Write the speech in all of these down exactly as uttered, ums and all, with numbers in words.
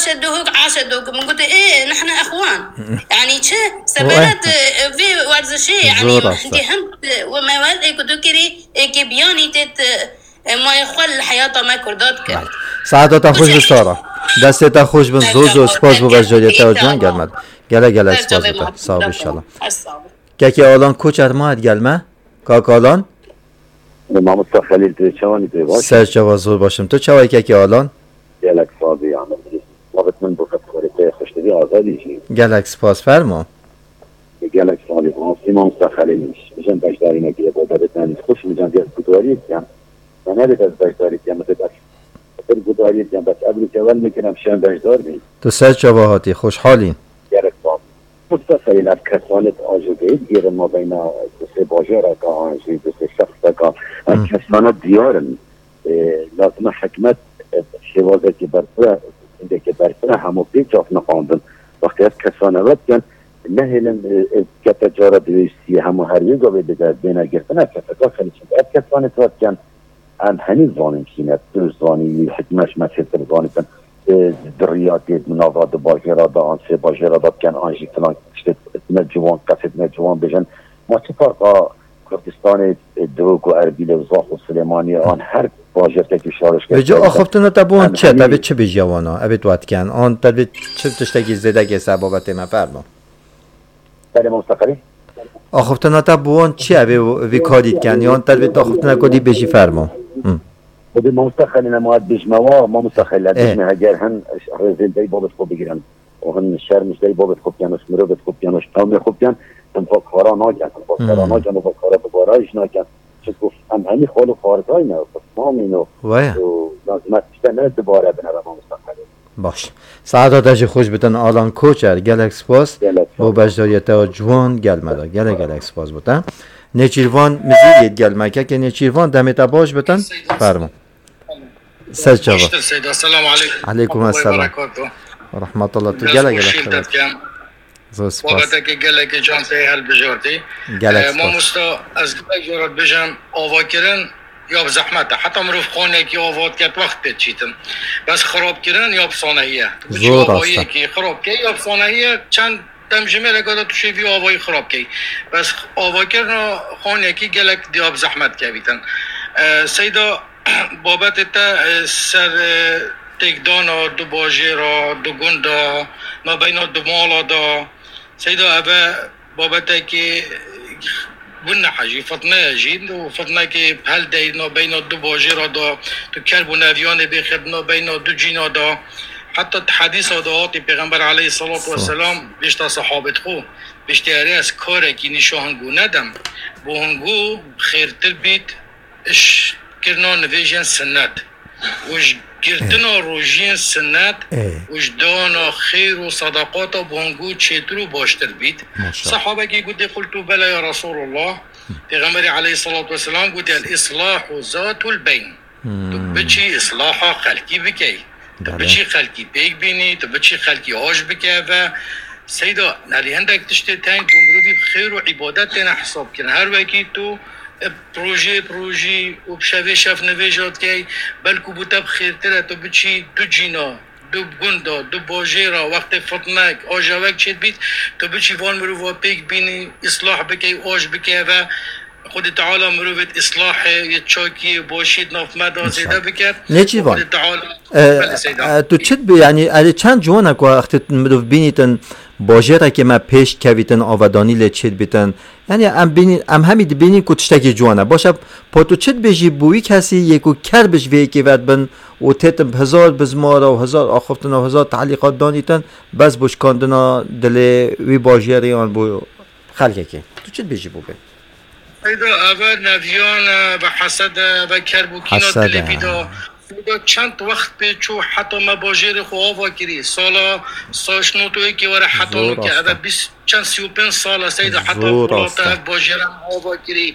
Şedûhûk, a şedûhûk. Min gote, ê, nihne exwan. Yanî çi? Semeret, e, vê werzişê, yanî Zor rast e. Hindî hin, e, we me wel ê ku tu kirî, ê kê biyanî têt, e, mayê xwe li heyata me Kurda dikir. Belê. Saeta te xweş bi Sara. Destê te xweş bin. Zor zor spas bo beşdariyeta ciwan gelme. Gelek gelek spas bo te. Sağ ol inşallah. Kekê Alan Koçer ma gelme. Kak Alan. Mamosta Xelîl, tu çawanî, tu baş? Ser çava, zor başım. Tu çawa kekê Alan? Gelek sazî, yanî. Wext min bo xeterê te xweşdivî azadî jî. Gelek spas, fermo. Gelek sazî. Asî mamosta Xelîl. Bijan beşdarî nekiriye, bo debit nani. Xweş bijan diye gudarî diyan. Me nedê bes beşdarî diyan, me dê bes. Bir gudarî diyan, bes ev li kevel mikin, em şen beşdar bî. Tu ser çava hatî, xweşhalî. Gerek sazî. Mustafa, ev kesanet ajoteyî digêrin mabeyna du sê bajareka an jî du sê şexseka. Ev Hmm. kesanet diyar in. E, lazim e hikûmet, e, şêwazekî berfireh, hindekî berfireh hemû pê çav niqandin. Wextê ev kesane vedikin, nehêlin, e, e, kete cara diwêjisiye hemû her wê gavê bide, bêne girtin, ev keseka xelî çin. Ev kesanet vedikin, Em henî zanin kî ne, tu zanî, hikmet me çêtir zanîtin. E, di riya tê di nava du bajêra de, an sê bajêra de bikin, an jî filan tiştê ne ciwan, qesêt ne ciwan bêjin. Ma çi ferqa Kurdistanê, e, Dihok û Erbîlê û Zax û Silêmaniyê, an her bajêrkekî şarişkek Vêca axiftina te bi wan em çi? Te henî vê çi bêjiya wana? Evê tu hatiken? An te vê çi tiştekî zêdekê ser babetê me fermo? Belê, mamosta Xelîl. Axiftina te bi wan çi ye? Vê, vê karî dikin? Yan te vê axiftina ku dî bêjî fermo? Hı. Xwedê mamosta Xelîl, em hat bêjme wa, mamosta Xelîl, em Ê. bêjme heger hin rêzên dey babet xwe bigirin. Û hin şerm ji dey babet xwe bikin, û ji mirovê xwe bikin, û ji qewmê xwe bikin, em xwe kara nakin, em xwe kara Hmm. nakin, û xwe kara bi barayî jî nakin. Çimku em hemî xal û xarzayî ne, xwe tamîn û, Waya. û lazim e tişte ne dubare bine re, mamosta Xelîl. Baş. Saeta te jî xweş bitin Alan Koçer. Gelek spas Gelek bo spas. beşdariyeta ciwan gel me de. Gelek gelek spas bo te. Nêçîrvan Mizîriyê gel me. Kekê Nêçîrvan demê te baş bitin. Fermo. Ser çava. Xweştir Seyda. Selamu aleykum. Aleykum Rahmetullahi esselam. Berekatuhu. Rahmetullah. Tu Dest gelek gelek xweşî xeber. Zor spas. Babetekê gelekê can tê helbijartî. Gelek Ee, spas. Mamosta, ez gelek carat bijim, avakirin ya bi zehmet e. Heta mirov xanekî ava diket wext pê diçîtin. Bes xirabkirin ya bi sanehî ye. Tu biçî Zor rast e. avayiyekî xirab key ya bi sanehî ye. Çend demjimêreke de tu şêvî avayî xirab key. Bes avakirina xanekî gelek diya bi zehmet kevîtin. Ee, Seyda, babetê te, e, ser, e, têkdana du bajêra, du gunda, nabeyna du mala da. Seyda, ev e babetekê guneh e jî, fitne ye jî. Û fitnekê heldey nabeyna du bajêra da, tu kerb û neviyanê bêxir nabeyna du cîna da. Heta di hedîsa da hatî Pêxember aleyhissalatu Sağ ol. vesselam bêjta sahabet xwe, bêjtê erê ez karekî nîşa hingû nedim. Bo hingû xêrtir bît, iş kirina nivêjên sinnet û ji girtina Ê. rojiyên sinnet Ê. û ji dana xêr û sadaqata bo hingû çêtir û baştir bît. Maşallah. Sahabekî gotê, "Qultu bela ya Resulullah." Pêxemberî aleyhissalatu vesselam gotê, "El islahu zatul beyn." Tu Hmm. biçî islaha xelkî bikey. Tu Belê. biçî xelkî pêk bînî, tu biçî xelkî aş bike ve. Seyda, nelî hindek tiştê teng bo mirovî bi xêr û îbadet têne hesab kirin. Her wekî tu, e, rojê bi rojî û bi şevê şev nivêja dikey, belku bo te bi xêrtir e tu biçî du cîna, du gunda, du bajêra, wextê fitnek, ajewek çêdibît, tu biçî van mirova pêk bînî, îslah bikey, aş bike ve. Xwedê Teala mirovê di îslahê, yê çakiyê, başiyê di nav me de zêde bike. Nêçîrvan. Xwedê Teala E, Belê Seyda. e, tu çi dibê, yanî erê çend ciwan e ku wextê mirov bînîtin, bajêrekê me pêş kevîtin, avedanî lê çêdibîtin. Yanî em bînî, em hemî dibînîn ku tiştekî ciwan e. Baş e, po tu çi dibêjî bo wî kesî yê ku kerb ji vê yekê vedibin û têtin bi hezar bizmara û hezar axiftina û hezar telîqat danîtin, bes bo şikandina dilê wî bajêrê yan bo xelkekê? Tu çi dibêjî bo wê? Seyda, eve neviyan e, eve hesed e, eve kerb û kîna Hesed dilê e. bîda. Seyda, çend wext pê çû heta me bajêrê xwe ava kirî. Sala şêst û yekê were heta Zor nûke. rast e. Eve bîst, çend sî û pênc sal e, Seyda, heta Zor ku rast e. hate ev bajêre em ava kirî.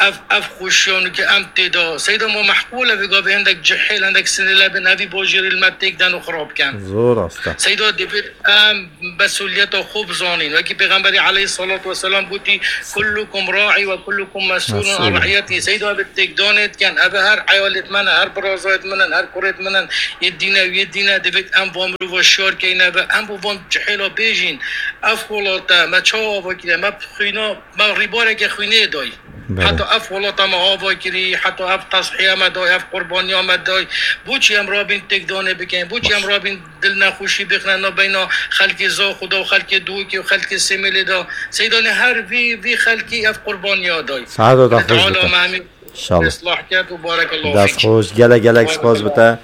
Ev, ev xweşiya nûke em tê de. Seyda, ma mehkûl e vê gavê hindek cihêl, hindek sinêle bin evî bajêrê li me têk den û xirab ken. Zor rast e. Seyda, divêt em mesuliyeta xwe bizanîn. Wekî Pêxemberî aleyhissalatu vesselam gotî, "Kullukum ra'i ve kullukum mes'ulun an Mes'ul. ra'iyetî." Seyda, ev têkdanê dikin, ev her eyalêt me ne, her birazayêt min in, her kurêt min in, yê dîne û yê dîne, divêt em van mirova şiyar keyne ve em bo van cihêla bêjîn. Ev welate me çawa ava kiriye? Me xwîna, me rîbareke xwînê dayî. Belê. Heta ev welata me ava kirî, heta ev teshiya me dayî, ev qurbaniya me dayî. Boçî em rabîn têkdanê bikeyn? Boçî em Baş. rabîn dilnexweşî bixine nabeyna xelkê Zaxo de û xelkê Duhokê û xelkê Sêmêlê de? Seydanê her vî, vî xelkî ev qurbaniya dayî. Saeta te xweş Teala bite. me hemî İnşallah. Islah kerd û barekallahu Dest fîk. xweş. Gelek gelek spas bite.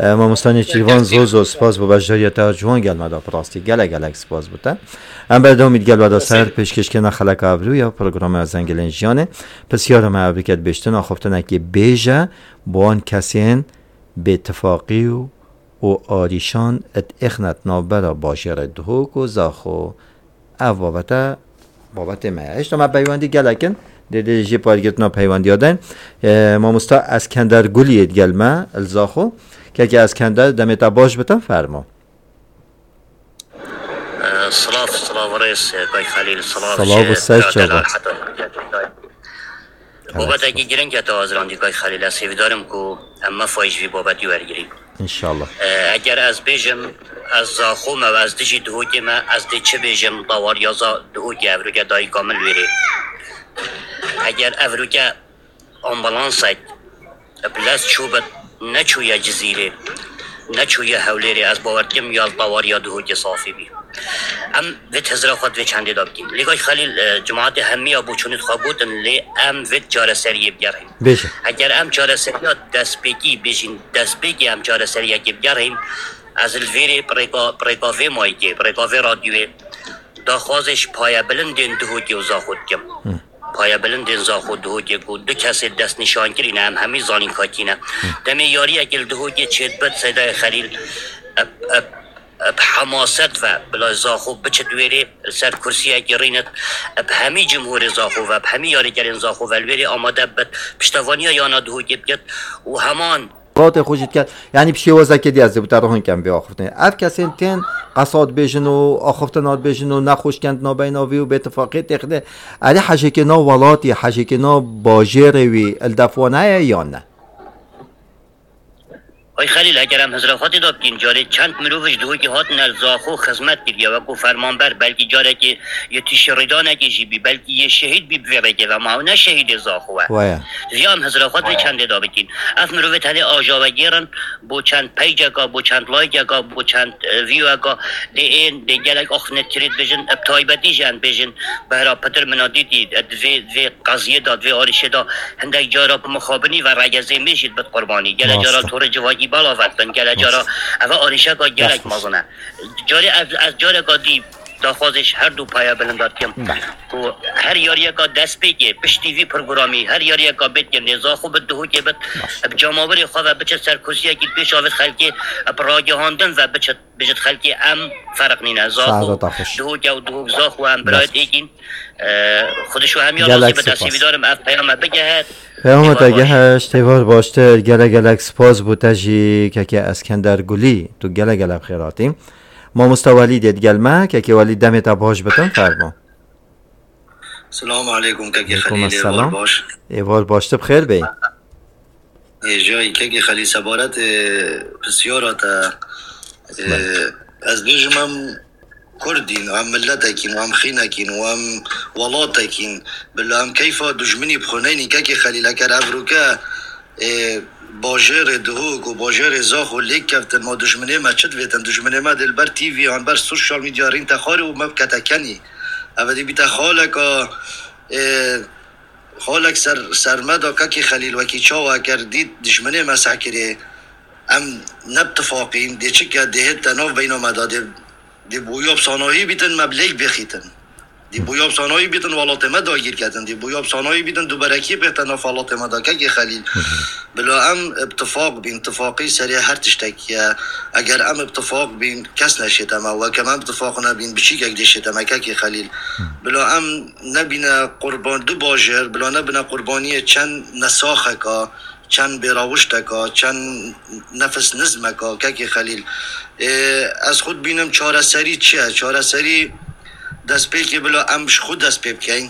E, Mamosta Nêçîrvan, zor zor spas bo beşdariya te ya ciwan gel me da, bi rastî. Gelek gelek spas bite. Em berdewamî digel we da ser pêşkêşkirina xeleka evroya programa Zengelên Jiyanê. Pisyara me evroke dibêjtin, axaftinekê bêje bo wan kesên bêtifaqî û, û arîşan id êxnet navbera bajêrê Duhok û Zaxo. Ev babete, babetê me ye. Hêşta me peywendî gelek in. Dê, dê jê pargirtina peywendiya den. E, mamosta Eskender Guliyê digel me, li Zaxo. Kekê Eskender, demê te baş bitin, fermo. E, silav, silav rêz, e, Kay Xelîl, silav Silav ji û ser bira çava. delal heta Babetekî giring e te azirandî Kay Xelîl. Ez hêvîdar im ku em mefayî ji vî babetî wergirîn. İnşallah. E, eger ez bêjim, ez Zaxo me û ez dijî Duhokê me, ez dê çi bêjim, dawariya za Duhokê evroke dayika min li wêrê. Eger evroke ambulansek bi lez çûbit, neçûye Cizîrê, neçûye Hewlêrê, ez bawer dikim ya li dawariya Duhokê safî bî. Em vê tezira xwe di vê çendê de bikîn. Lê Kay Xelîl, e, cemaetê hemiya bo çûnê xwe gotin, lê em vê çareseriyê bigerîn. Bêje. Eger em çareseriya destpêkî bêjîn, destpêkê em çareseriyekê bigerîn, ez li vêrê bi rêka, bi rêka vê mayîkê, bi rêka vê radyoyê daxwazê ji payebilindên Duhokê û Zaxo dikim. Hı. Payebilindên Zaxo û Duhokê ku du kesê destnîşankirî ne, em hemî zanîn ka kî ne. Hı. Demê yariyekê li Duhokê çêdibit, Seydayê Xelîl, eb, eb, bi hemaset ve bila Zaxo biçit wêrê, li ser kursiyekî rînit, bi hemî cumhurê Zaxo ve, bi hemî yarîkerên Zaxo ve li wêrê amade bibit, piştevaniya yana Duhokê bikit û heman. Xatê xwe jî diket. Yanî bi şêwazekê dî ez ê bi te rihûn kem vê axiftinê. Ev kesên tên qesa dibêjin û axiftina dibêjin û nexweşkendina beyna vî û bêtifaqiyê têxine. Erê hejêkê nav welatî, hejêkê nav bajêrê wî li def wan heye yan ne? Ay Xelîl, eger em hizra xwe tê de bikîn, carê çend mirov ji Duhokê hatine li Zaxo xizmet kiriye, wekû fermanber, belkî carekê yê tîşê rêdanekê jî bî, belkî yê şehîd bî bi vê rêkê ve, ma ew ne şehîdê Zaxo e. Waya. Divê em hizra xwe di vê çendê de bikîn. Ev mirovê tenê aja vegêrin, bo çend peyceka, bo çend layikeka, bo çend, e, viyoweka, dê ên, dê gelek axiftinê tirê dibêjin, bi taybetî jî em dibêjin, behra pitir min a dîtî, e, di vê, vê qeziyê de, di vê arîşê de, hindek cara bi mixabinî ve regezê me jî dibit qurbanî. Gelek cara Rast e. torê civakî belav dibin, gelek cara Rast. eve arîşeka gelek Rast. mezin e. Carê ez, ez careka dî daxwazê ji her du paya bilind dikim. Belê. Ku her yariyeka destpêkê, piştî vî programî, her yariyeka bêt kirinê, Zaxo bit, Duhokê bit, Baş. bi cemawerê xwe ve biçit ser kursiyekî pêş avêt xelkê, bi ragihandin ve biçit, bijit xelkê em ferq nîne. Zaxo, Saeta te xweş. Duhok e û Duhok Zaxo em birayet Baş. êkîn. E, Xwedê ji we hemiya Gelek razî be, te spas. hêvîdar im ev peyama bigehit. Peyama te Hêvar baş. gehişt, hêvar baştir, gelek gelek spas bo te jî, kekê Eskender Gulî, tu gelek gelek xêr hatî. Mamosta Welîdê digel me, kekê Welîd demê te baş bitin, fermo. Selamu aleykum, kekê Aleykum Xelîl, êvar esselam. baş. Êvar baş, tu bi xêr bê. Ê, jayî, kekê Xelîl, sebaret, ê, pisyara te, ê, Belê. ez bêjim em Kurdîn, em miletekîn, em xînekîn, em welatekîn. Bila em keyfa dijminî bi xwe neynîn, kekê Xelîl, eger evroke, ê, bajêrê Duhok û bajêrê Zaxo lêk kevtin, ma dijminê me çi divêtin? Dijminê me dê li ber T V yan ber sosyal medya rîn te xwarê û me bikete kenî. Ev dê bîte xaleka, ê, xalek ser, ser me da, kekê Xelîl, wekî çawa eger dît dijminê me sehkirê, em ne bi tifaqîn, dê çike dê hête nav beyna me da, dê, dê boya bi sanahî bîtin, me bi lêk bêxîtin. Dê boya bi sanahî bîtin, welatê me dagîr ketin. Dê boya bi sanahî bîtin, duberekiyê bêxte nav welatê me da, kekê Xelîl. Bila em bi tifaq bîn, tifaqî serê her tiştekî ye. Eger em bi tifaq bîn, kes neşête me. Weke em bi tifaq nebîn, biçîkek dê şête me, kekê Xelîl. Bila em nebîne qurban du bajêr, bila nebine qurbaniyê çend nesaxeka, çend bêrawişteka, çend nefis nizmeka, kekê Xelîl. Ê, ez xwe dibînim çareserî çi ye? Çareserî destpêkê bila em ji xwe dest pê bikeyn.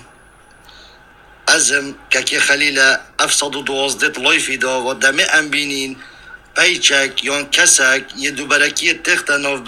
Ez im, kekê Xelîl e, ev sed û duwazdeh layfî da, va demê em bînîn, Peyçek yan kesek yê duberekiyê têxte navbeyna